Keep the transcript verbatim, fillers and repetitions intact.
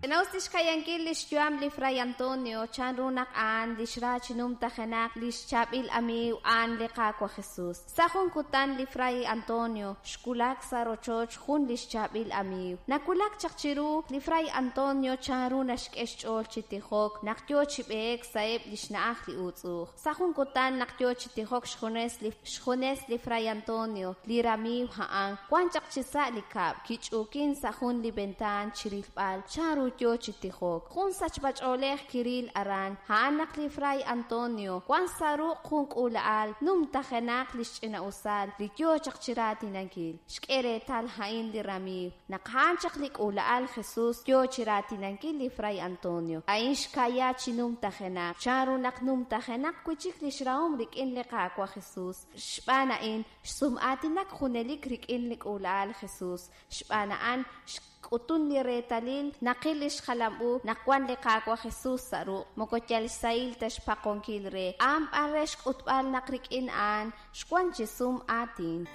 Ch'inaus lix kayankil lix yu'am li Fray Antonio, chanru naq a'an lix ra chi numtajenaq lix chaab'il amiiw a'an li Qaawa' Jesus. Sa' jun kutan li Fray Antonio xwulak sa' rochoch jun lix chaab'il amiiw. Nawulak chaq chiru li Fray Antonio chanru naxk'e xch'ool chi tijok naq yo chi b'eek sa'eb' lix na'aj li uutz'uj. Sa' jun kutan naq yo chi tijok xjunes li xjunes li Fray Antonio, li ramiiw a'an wan chaq chi sa' li kab', kich'uukin sa' jun li ventaan chirilb'al chanru yo chi tijok. Jun sachb'ach'oolej kiril aran, a'an naq li Fray Antonio wan sa' ruq' jun k'uula'al numtajenaq lix ch'ina'usal li yo chaq chiraatinankil. Xk'e reetal a'in li ramiiw, naq a'an chaq li k'uula'al Jesus yo chiraatinankil li Fray Antonio. A'in xkaya chi numtajenaq, chanru naq numtajenaq wi' chik lix rahom rik'in li Qaawa' Jesus. Xb'aan a'in xsum'aatinak junelik rik'in li k'uula'al Jesus. Xb'aan a'an xk'utun li reetalil naqil lix jalam-u naq wan li Qaawa' Jesus sa' ruq', moko yal xsahil ta xpaqonkil re, a'an b'an re xk'utb'al naq rik'in a'an xwan chi sum aatin.